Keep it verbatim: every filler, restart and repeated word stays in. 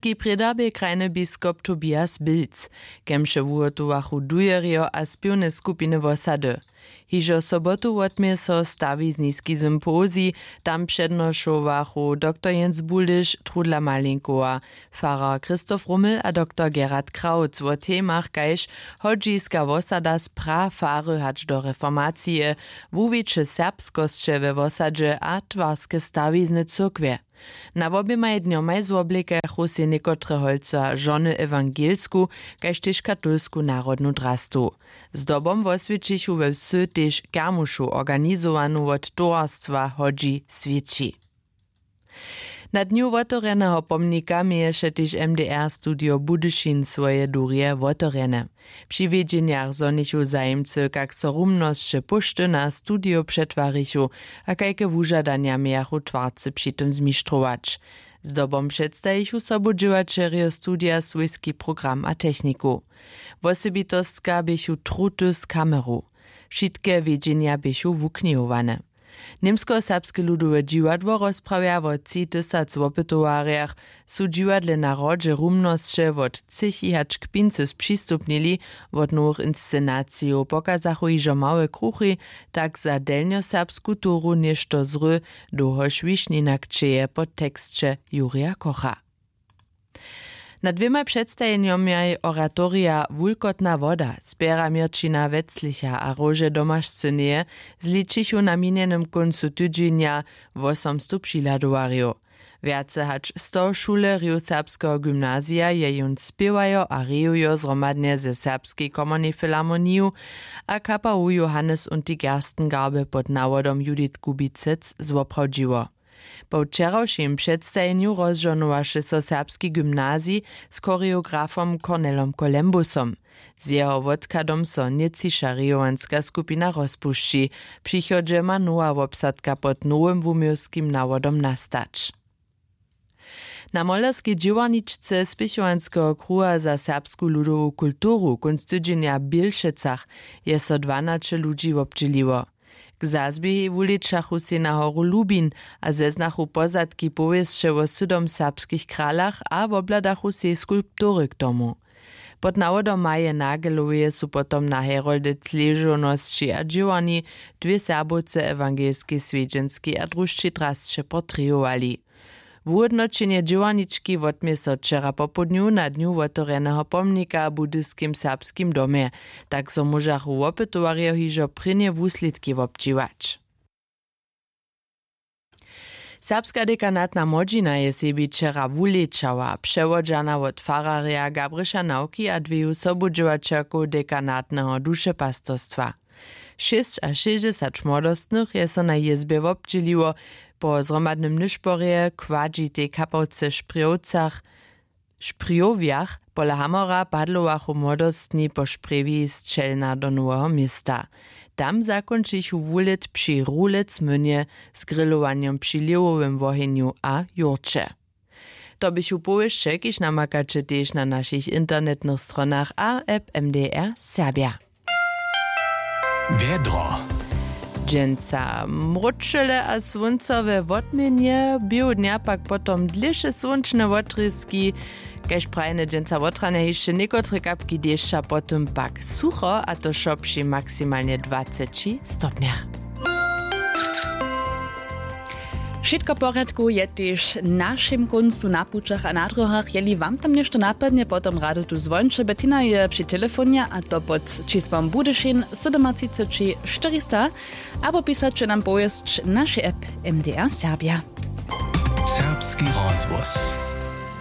Ki prěda bě krajny biskop Tobias Bilc, kemše wuhotowachu dujerjo a spěwne skupiny wosady. Hižo sobotu wotmě so stawizniski sympozij. Tam přednošowachu doktor Jens Buliš, Trudla Malinkowa, farar Christoph Rummel a doktor Gerhard Krautz wo temach kaž hodźiska wosada z prafary hač do reformacije, wuwiće serbskosće we wosadźe a twarske stawizny cyrkwje. Na woběmaj dnjomaj zwoblikachu sej někotre holca žony ewangelsku kaž tež katolsku narodnu drastu. Zdobom woswjećichu we wsy tež kermušu organizowanu wot towarstwa hodźi swěći. Na dnju wotewrjeneho pomnika měješe tež mdr studio budyšin swoje durje wotewrjene. Při wědźenjach zhonichu zajimcy kak so rumnosće póšty na studio přetwarichu a kajke wužadanja mějachu twarcy při tym zmištrować. Zdobom předstajichu sobudźěłaćerjo studija swójski program a techniku. Wosebitostka běchu truty z kameru. Wšitke wědźenja běchu wuknihowane. Němskoserbske ludowe dźiwadło rozprawja wo tři tysac wopytowarjach. Su dźiwadle na hrodźe rumnosće wot třěchi hač k pincy spřistupnili, wot nowych inscenacijow pokazachu hižo małe kruchi, tak za delnjoserbsku toru něšto zry, dołhož wišninak čeje po teksće jurja kocha. Na dwěmaj předstajenjomjaj oratorija wulkotna woda spjera měrćina weclicha a róže domašcyneje zličichu na minjenym kóncu tydźenja wosomstow přihladowarjow. Wjace hač sto šulerjow serbskeho gymnazija je jón spěwajo a rejujo zhromadnje ze serbskej komornej filharmoniju a kapawu johannes und die gerstengarbe pod nawodom judith kubicec zwoprawdźiło. Po wčerawšim předstajenju rozžohnowaše so serbski gymnazij z choreografom cornelom colembusom. Z jeho wotchadom so nětčiša rejowanska skupina rozpušći. Přichodźe ma nowa wobsadka pod nowym wuměłskim nawodom nastać. Na molerskej dźěłarničce spěchowanskeho kruha za serbsku ludowu kulturu kónc tydźenja w bělšecach je so dwanaće ludźi wobdźěliło. K zazběhej wulečachu sej na horu lubin a zeznachu pozadki powěsće wo sydom serbskich kralach a wobhladachu sej skulptury k tomu. Pod nawodom maje nageloweje su potom na heroldec ležownosći a dźěłarni dwě serbowce ewangelskej swjedźenskej a drušćej drasće portrejowali. Wuhódnoćenje dźěłarnički wotmě so wčera popołdnju na dnju wotewrjeneho pomnika w budyskim serbskim domje. Tak zo móžachu wopytowarjo hižo prěnje wuslědki wobdźěłać. Serbska dekanatna młodźina je sebi wčera wulečała přewodźana wot fararja gabriša nawki a dweju sobudźěłaćerkow dekanatneho dušepastostwa. Šěsćašěsćdźesać młodostnych je so na jězbje wobdźěliło. Po zhromadnym nyšporje w kładźitej kapałce w šprjowcach w šprjowjach pola hamora padlowachu młodostni po šprjewi z čelna do noweho města. Tam zakónčichu wulět při rulec mynje z grilowanjom při lěhowym wohenju a jórće. To běchu powěsće kiž namakaće tež na našich internetnych stronach a app mdr serbja. Wjedro. Dźensa mróčele a słónco we wotměnje běhu dnja pak potom dlěše słónčne wotrězki. Kaž prajene dźensa wotranje hišće někotre kapki dešća potom pak sucho a to wšo při maksimalnje dwaceći stopnjach. Wšitko w porjadku je tež w našim kóncu na pućach a na dróhach. Jeli wam tam něšto napadnje potom radu tu zwóńće. Bettina je při telefonje a to pod čisłom budyšin sydomatřiceći štyrista. Abo pisaće nam powěsć naše app mdr serbja. Serbski rozhłos.